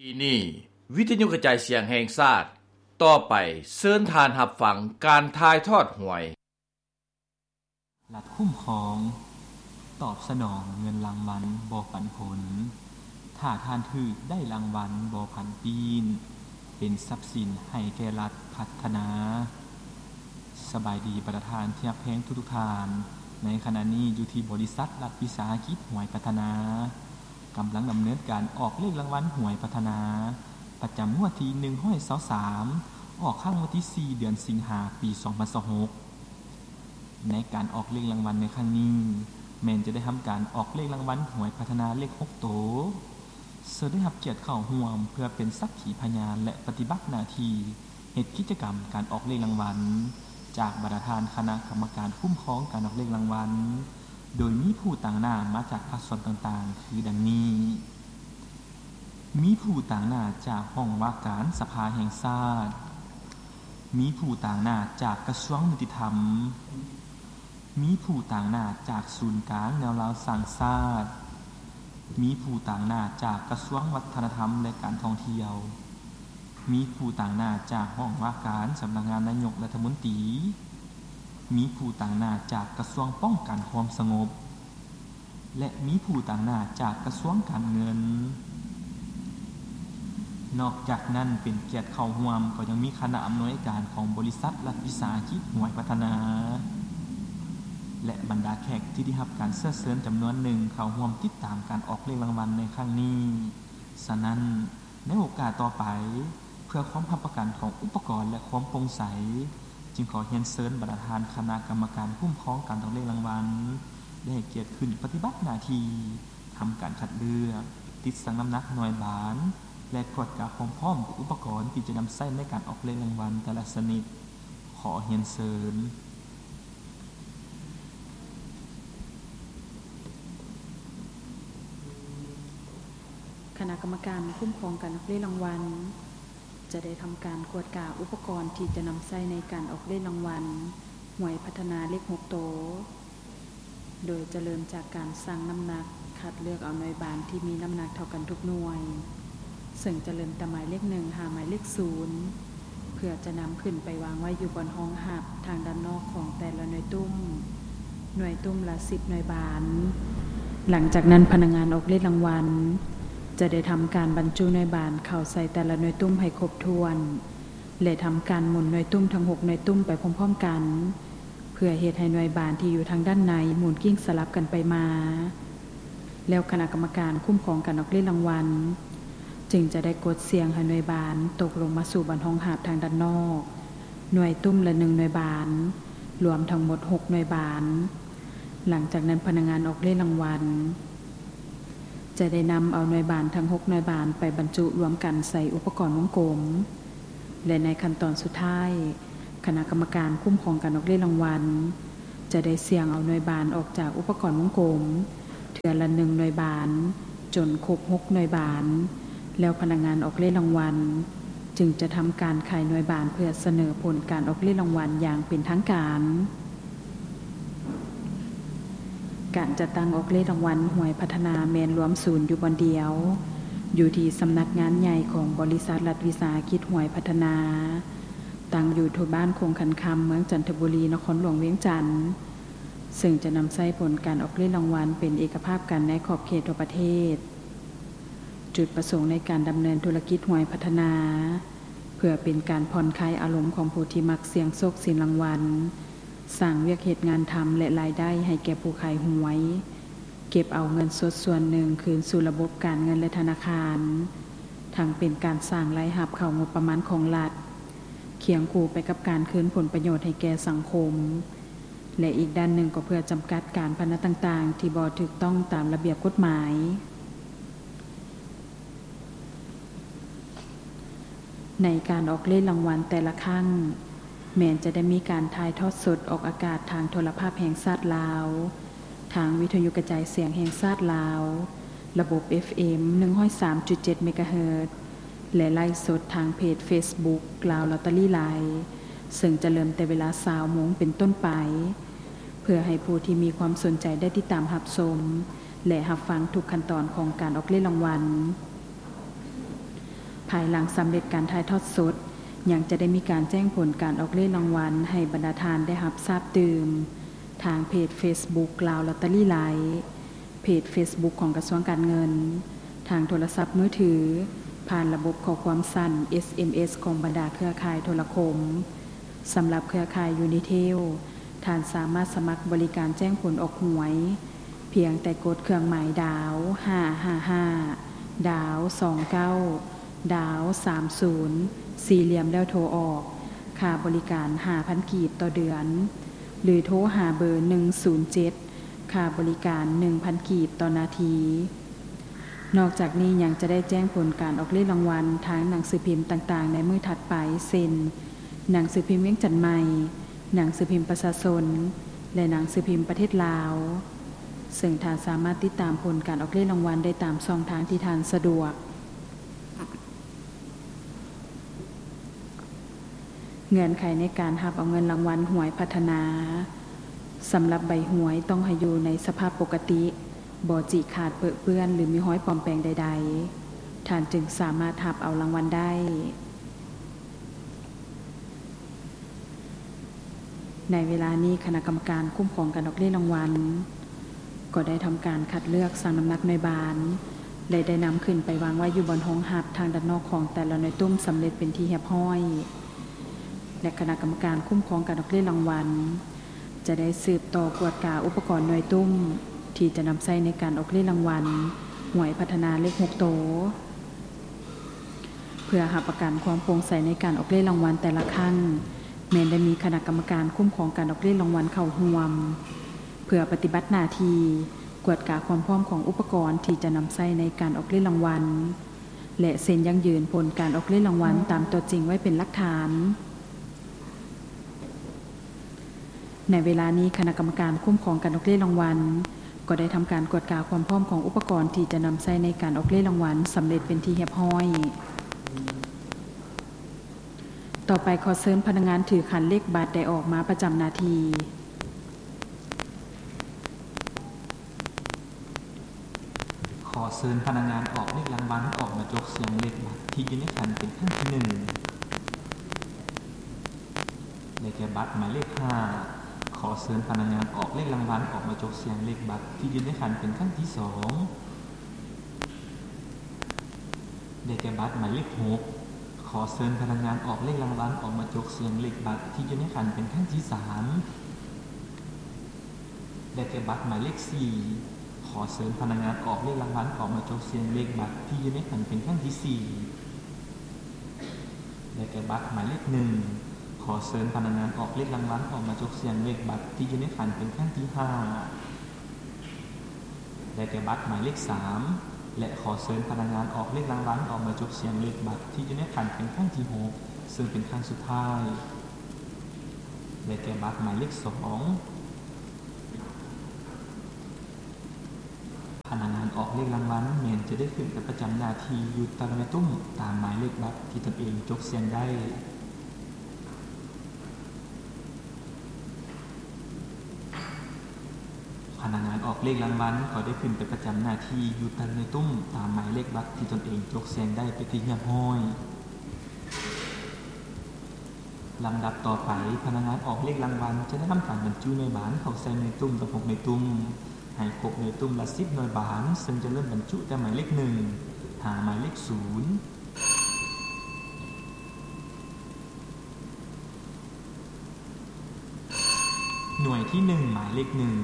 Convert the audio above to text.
ທີ່ນີ້ ວິທະຍຸກະຈາຍສຽງແຫ່ງຊາດ, ຕໍ່ໄປເຊີນທ່ານຮັບຟັງການຖ່າຍທອດຫວຍ. ລັດຄຸ້ມຄອງ ຕອບສະໜອງເງິນລາງວັນບໍ່ປັນຜົນ, ຖ້າທ່ານຖືກໄດ້ລາງວັນບໍ່ຜັນປີ້ນ, ເປັນຊັບສິນໃຫ້ແກ່ລັດພັດທະນາ. ສະບາຍດີບັນດາທ່ານທີ່ຮັກແພງທຸກໆທ່ານ, ໃນຂະນະນີ້ຢູ່ທີ່ບໍລິສັດລັດວິສາຫະກິດຫວຍພັດທະນາ ກຳລັງດຳເນີນການອອກເລກລາງວັນຫວຍພັດທະນາ ປະຈຳງວດທີໜຶ່ງຮ້ອຍຊາວສາມ ອອກຄັ້ງວັນທີສີ່ ເດືອນສິງຫາ ປີສອງພັນຊາວຫົກ. ໃນການອອກເລກລາງວັນໃນຄັ້ງນີ້ ແມ່ນຈະໄດ້ທຳການອອກເລກລາງວັນຫວຍພັດທະນາເລກຫົກໂຕ. ເຊີນໄດ້ຮັບກຽດເຂົ້າຮ່ວມເພື່ອເປັນສັກຂີພະຍານ ແລະ ປະຕິບັດໜ້າທີ່ເຮັດກິດຈະກຳການອອກເລກລາງວັນ ຈາກບັນດາທ່ານຄະນະກຳມະການຄຸ້ມຄອງການອອກເລກລາງວັນ, ໂດຍມີຜູ້ຕາງໜ້າມາຈາກພາກສ່ວນຕ່າງໆ ຄືດັ່ງນີ້: ມີຜູ້ຕາງໜ້າຈາກຫ້ອງວ່າການສະພາແຫ່ງຊາດ, ມີຜູ້ຕາງໜ້າຈາກກະຊວງຍຸຕິທຳ, ມີຜູ້ຕາງໜ້າຈາກສູນກາງແນວລາວສ້າງຊາດ, ມີຜູ້ຕາງໜ້າຈາກກະຊວງວັດທະນະທຳ ແລະ ການທ່ອງທ່ຽວ, ມີຜູ້ຕາງໜ້າຈາກຫ້ອງວ່າການສຳນັກງານນາຍົກລັດຖະມົນຕີ, ມີຜູ້ຕາງໜ້າຈາກກະຊວງປ້ອງກັນຄວາມສະຫງົບ ແລະ ມີຜູ້ຕາງໜ້າຈາກກະຊວງການເງິນ. ນອກຈາກນັ້ນ ເປັນກຽດເຂົ້າຮ່ວມກໍຍັງມີຄະນະອຳນວຍການຂອງບໍລິສັດລັດວິສາຫະກິດຫວຍພັດທະນາ ແລະ ບັນດາແຂກທີ່ໄດ້ຮັບການເຊື້ອເຊີນຈຳນວນໜຶ່ງເຂົ້າຮ່ວມຕິດຕາມການອອກເລກລາງວັນໃນຄັ້ງນີ້. ສະນັ້ນ, ໃນໂອກາດຕໍ່ໄປ, ເພື່ອຄວາມຮັບປະກັນຂອງອຸປະກອນ ແລະ ຄວາມໂປ່ງໃສ, ຈຶ່ງຂໍຮຽນເຊີນບັນດາທ່ານຄະນະກຳມະການຄຸ້ມຄອງການອອກເລກລາງວັນ ໄດ້ໃຫ້ກຽດຂຶ້ນປະຕິບັດໜ້າທີ່ ທຳການຄັດເລືອກ, ຕິດຊັ່ງນ້ຳໜັກໜ່ວຍບານ ແລະ ກວດກາຄວາມພ້ອມຂອງອຸປະກອນທີ່ຈະນຳໃຊ້ໃນການອອກເລກລາງວັນແຕ່ລະຊະນິດ. ຂໍຮຽນເຊີນ. ຄະນະກຳມະການຄຸ້ມຄອງການອອກເລກລາງວັນ ຈະໄດ້ທຳການກວດກາອຸປະກອນທີ່ຈະນຳໃຊ້ໃນການອອກເລກລາງວັນຫວຍພັດທະນາເລກຫົກໂຕ, ໂດຍຈະເລີ່ມຈາກການຊັ່ງນ້ຳໜັກ, ຄັດເລືອກເອົາໜ່ວຍບານທີ່ມີນ້ຳໜັກເທົ່າກັນທຸກໜ່ວຍ, ເຊິ່ງຈະເລີ່ມແຕ່ໝາຍເລກໜຶ່ງຫາໝາຍເລກສູນ ເພື່ອຈະນຳຂຶ້ນໄປວາງໄວ້ຢູ່ບ່ອນຮອງຮັບທາງດ້ານນອກຂອງແຕ່ລະໜ່ວຍຕຸ້ມ, ໜ່ວຍຕຸ້ມລະສິບໜ່ວຍບານ. ຫຼັງຈາກນັ້ນ, ພະນັກງານອອກເລກລາງວັນ ຈະໄດ້ທຳການບັນຈຸໜ່ວຍບານເຂົ້າໃສ່ແຕ່ລະໜ່ວຍຕຸ້ມໃຫ້ຄົບຖ້ວນ ແລະ ທຳການໝູນໜ່ວຍຕຸ້ມທັງຫົກໜ່ວຍຕຸ້ມໄປພ້ອມໆກັນ ເພື່ອເຮັດໃຫ້ໜ່ວຍບານທີ່ຢູ່ທາງດ້ານໃນໝູນກິ້ງສະຫຼັບກັນໄປມາ. ແລ້ວຄະນະກຳມະການຄຸ້ມຄອງການອອກເລກລາງວັນ ຈຶ່ງຈະໄດ້ກົດສ່ຽງໃຫ້ໜ່ວຍບານຕົກລົງມາສູ່ບ່ອນຮອງຮັບທາງດ້ານນອກ, ໜ່ວຍຕຸ້ມລະໜຶ່ງໜ່ວຍບານ, ລວມທັງໝົດຫົກໜ່ວຍບານ. ຫຼັງຈາກນັ້ນ, ພະນັກງານອອກເລກລາງວັນ ຈະໄດ້ນຳເອົາໜ່ວຍບານທັງຫົກໜ່ວຍບານໄປບັນຈຸລວມກັນໃສ່ອຸປະກອນວົງກົມ ແລະ ໃນຂັ້ນຕອນສຸດທ້າຍ, ຄະນະກຳມະການຄຸ້ມຄອງການອອກເລກລາງວັນ ຈະໄດ້ສ່ຽງເອົາໜ່ວຍບານອອກຈາກອຸປະກອນວົງກົມ ເທື່ອລະໜຶ່ງໜ່ວຍບານ ຈົນຄົບຫົກໜ່ວຍບານ, ແລ້ວພະນັກງານອອກເລກລາງວັນ ຈຶ່ງຈະທຳການຂາຍໜ່ວຍບານເພື່ອສະເໜີຜົນການອອກເລກລາງວັນຢ່າງເປັນທາງການ. ການຈັດຕັ້ງອອກເລກລາງວັນຫວຍພັດທະນາແມ່ນລວມສູນຢູ່ບ່ອນດຽວ, ຢູ່ທີ່ສຳນັກງານໃຫຍ່ຂອງບໍລິສັດລັດວິສາຫະກິດຫວຍພັດທະນາ, ຕັ້ງຢູ່ທົ່ວບ້ານຄົງຂັນຄຳ, ເມືອງຈັນທະບູລີ, ນະຄອນຫຼວງວຽງຈັນ, ເຊິ່ງຈະນຳໃຊ້ຜົນການອອກເລກລາງວັນເປັນເອກະພາບກັນໃນຂອບເຂດທົ່ວປະເທດ. ຈຸດປະສົງໃນການດຳເນີນທຸລະກິດຫວຍພັດທະນາ ເພື່ອເປັນການຜ່ອນຄາຍອາລົມຂອງຜູ້ທີ່ມັກສ່ຽງໂຊກສິນລາງວັນ, ສ້າງວຽກເຮັດງານທຳ ແລະ ລາຍໄດ້ໃຫ້ແກ່ຜູ້ຂາຍຫວຍ, ເກັບເອົາເງິນສົດສ່ວນໜຶ່ງຄືນສູ່ລະບົບການເງິນ ແລະ ທະນາຄານ, ທັງເປັນການສ້າງລາຍຮັບເຂົ້າງົບປະມານຂອງລັດ, ຄຽງຄູ່ໄປກັບການຄືນຜົນປະໂຫຍດໃຫ້ແກ່ສັງຄົມ. ແລະ ອີກດ້ານໜຶ່ງກໍເພື່ອຈຳກັດການພະນັນຕ່າງໆ ທີ່ບໍ່ຖືກຕ້ອງຕາມລະບຽບກົດໝາຍ. ໃນການອອກເລກລາງວັນແຕ່ລະຄັ້ງ ແມ່ນຈະໄດ້ມີການຖ່າຍທອດສົດອອກອາກາດທາງໂທລະພາບແຫ່ງຊາດລາວ, ທາງວິທະຍຸກະຈາຍສຽງແຫ່ງຊາດລາວ, ລະບົບ ເອັຟເອັມ ໜຶ່ງຮ້ອຍສາມຈຸດເຈັດ ເມກາເຮີດ ແລະ ໄລຟ໌ສົດທາງເພຈເຟສບຸກ ລາວລອດເຕີຣີໄລຟ໌ ເຊິ່ງຈະເລີ່ມແຕ່ເວລາຊາວໂມງເປັນຕົ້ນໄປ, ເພື່ອໃຫ້ຜູ້ທີ່ມີຄວາມສົນໃຈໄດ້ຕິດຕາມຮັບຊົມ ແລະ ຮັບຟັງທຸກຂັ້ນຕອນຂອງການອອກເລກລາງວັນ. ພາຍຫຼັງສຳເລັດການຖ່າຍທອດສົດ, ຍັງຈະໄດ້ມີການແຈ້ງຜົນການອອກເລກລາງວັນໃຫ້ບັນດາທ່ານໄດ້ຮັບຊາບຕື່ມ ທາງເພຈເຟສບຸກ ລາວລອດເຕີຣີໄລຟ໌, ເພຈເຟສບຸກຂອງກະຊວງການເງິນ, ທາງໂທລະສັບມືຖື, ຜ່ານລະບົບຂໍ້ຄວາມສັ້ນ ເອສເອັມເອສ ຂອງບັນດາເຄືອຂ່າຍໂທລະຄົມ. ສຳລັບເຄືອຂ່າຍຢູນິເທວ, ທ່ານສາມາດສະໝັກບໍລິການແຈ້ງຜົນອອກຫວຍ ພຽງແຕ່ກົດເຄື່ອງໝາຍດາວ ຫ້າຫ້າຫ້າ ດາວ ສອງເກົ້າ ດາວ ສາມສູນ ສີ່ຫຼ່ຽມ ແລ້ວໂທອອກ. ຄ່າບໍລິການ ຫ້າພັນກີບຕໍ່ເດືອນ ຫຼື ໂທຫາເບີ ໜຶ່ງສູນເຈັດ ຄ່າບໍລິການ ໜຶ່ງພັນກີບຕໍ່ນາທີ. ນອກຈາກນີ້ຍັງຈະໄດ້ແຈ້ງຜົນການອອກເລກລາງວັນທາງໜັງສືພິມຕ່າງໆໃນມື້ຖັດໄປ ເຊັ່ນ ໜັງສືພິມວຽງຈັນໃໝ່, ໜັງສືພິມປະຊາຊົນ ແລະ ໜັງສືພິມປະເທດລາວ, ເຊິ່ງທ່ານສາມາດຕິດຕາມຜົນການອອກເລກລາງວັນໄດ້ຕາມຊ່ອງທາງທີ່ທ່ານສະດວກ. ເງື່ອນໄຂໃນການຮັບເອົາເງິນລາງວັນຫວຍພັດທະນາ ສຳລັບໃບຫວຍຕ້ອງໃຫ້ຢູ່ໃນສະພາບປົກກະຕິ, ບໍ່ຈິຂາດເປິເປື້ອນ ຫຼື ມີຮອຍປອມແປງໃດໆ, ທ່ານຈຶ່ງສາມາດຮັບເອົາລາງວັນໄດ້. ໃນເວລານີ້ ຄະນະກຳມະການຄຸ້ມຄອງການອອກເລກລາງວັນ ກໍໄດ້ທຳການຄັດເລືອກ, ຊັ່ງນ້ຳໜັກໜ່ວຍບານ ແລະ ໄດ້ນຳຂຶ້ນໄປວາງໄວ້ຢູ່ບ່ອນຮອງຮັບທາງດ້ານນອກຂອງແຕ່ລະໜ່ວຍຕຸ້ມສຳເລັດເປັນທີ່ຮຽບຮ້ອຍ ແລະ ຄະນະກຳມະການຄຸ້ມຄອງການອອກເລກລາງວັນ ຈະໄດ້ສືບຕໍ່ກວດກາອຸປະກອນໜ່ວຍຕຸ້ມ ທີ່ຈະນຳໃຊ້ໃນການອອກເລກລາງວັນຫວຍພັດທະນາເລກຫົກໂຕ. ເພື່ອຮັບປະກັນຄວາມໂປ່ງໃສໃນການອອກເລກລາງວັນແຕ່ລະຄັ້ງ, ແມ່ນໄດ້ມີຄະນະກຳມະການຄຸ້ມຄອງການອອກເລກລາງວັນເຂົ້າຮ່ວມ ເພື່ອປະຕິບັດໜ້າທີ່ກວດກາຄວາມພ້ອມຂອງອຸປະກອນທີ່ຈະນຳໃຊ້ໃນການອອກເລກລາງວັນ ແລະ ເຊັນຢັ້ງຢືນຜົນການອອກເລກລາງວັນຕາມຕົວຈິງໄວ້ເປັນຫຼັກຖານ. ໃນເວລານີ້ ຄະນະກຳມະການຄຸ້ມຄອງການອອກເລກລາງວັນ ກໍໄດ້ທຳການກວດກາຄວາມພ້ອມຂອງອຸປະກອນທີ່ຈະນຳໃຊ້ໃນການອອກເລກລາງວັນສຳເລັດເປັນທີ່ຮຽບຮ້ອຍ. ຕໍ່ໄປ ຂໍເຊີນພະນັກງານຖືຂັນເລກບັດໄດ້ອອກມາປະຈຳໜ້າທີ່. ຂໍເຊີນພະນັກງານອອກເລກລາງວັນອອກມາຈົກສ່ຽງເລກບັດທີ່ຢູ່ໃນຂັນເປັນຄັ້ງທີໜຶ່ງ ໄດ້ແກ່ບັດໝາຍເລກຫ້າ. ຂໍເຊີນພະນັກງານອອກເລກລາງວັນອອກມາຈົກສ່ຽງເລກບັດທີ່ຢູ່ໃນຂັນເປັນຄັ້ງທີສອງ ໄດ້ແກ່ບັດໝາຍເລກຫົກ. ຂໍເຊີນພະນັກງານອອກເລກລາງວັນອອກມາຈົກສ່ຽງເລກບັດທີ່ຢູ່ໃນຂັນເປັນຄັ້ງທີສາມ ໄດ້ແກ່ບັດໝາຍເລກສີ່. ຂໍເຊີນພະນັກງານອອກເລກລາງວັນອອກມາຈົກສ່ຽງເລກບັດທີ່ຢູ່ໃນຂັນເປັນຄັ້ງທີສີ່ ໄດ້ແກ່ບັດໝາຍເລກໜຶ່ງ. ຂໍເຊີນພະນັກງານອອກເລກລາງວັນອອກມາຈົກສ່ຽງເລກບັດທີ່ຢູ່ໃນຂັນເປັນຄັ້ງທີຫ້າ ໄດ້ແກ່ບັດໝາຍເລກສາມ ແລະ ຂໍເຊີນພະນັກງານອອກເລກລາງວັນອອກມາຈົກສ່ຽງເລກບັດທີ່ຢູ່ໃນຂັນເປັນຄັ້ງທີຫົກ ເຊິ່ງເປັນຄັ້ງສຸດທ້າຍ ໄດ້ແກ່ບັດໝາຍເລກສອງ. ພະນັກງານອອກເລກລາງວັນແມ່ນຈະໄດ້ຂຶ້ນໄປປະຈຳໜ້າທີ່ຢູ່ແຕ່ລະໜ່ວຍຕຸ້ມຕາມໝາຍເລກບັດທີ່ຕົນເອງຈົກສ່ຽງໄດ້. ພະນັກງານອອກເລກລາງວັນກໍໄດ້ຂຶ້ນໄປປະຈຳໜ້າທີ່ຢູ່ແຕ່ລະໜ່ວຍຕຸ້ມຕາມໝາຍເລກບັດທີ່ຕົນເອງຈົກສ່ຽງໄດ້ເປັນທີ່ຮຽບຮ້ອຍ. ລຳດັບຕໍ່ໄປ, ພະນັກງານອອກເລກລາງວັນຈະໄດ້ທຳການບັນຈຸໜ່ວຍບານເຂົ້າໃສ່ໜ່ວຍຕຸ້ມທັງຫົກໜ່ວຍຕຸ້ມ ໃຫ້ຄົບໜ່ວຍຕຸ້ມລະສິບໜ່ວຍບານ, ເຊິ່ງຈະເລີ່ມບັນຈຸແຕ່ໝາຍເລກໜຶ່ງ ຫາໝາຍເລກສູນ. ໜ່ວຍທີໜຶ່ງ ໝາຍເລກໜຶ່ງ.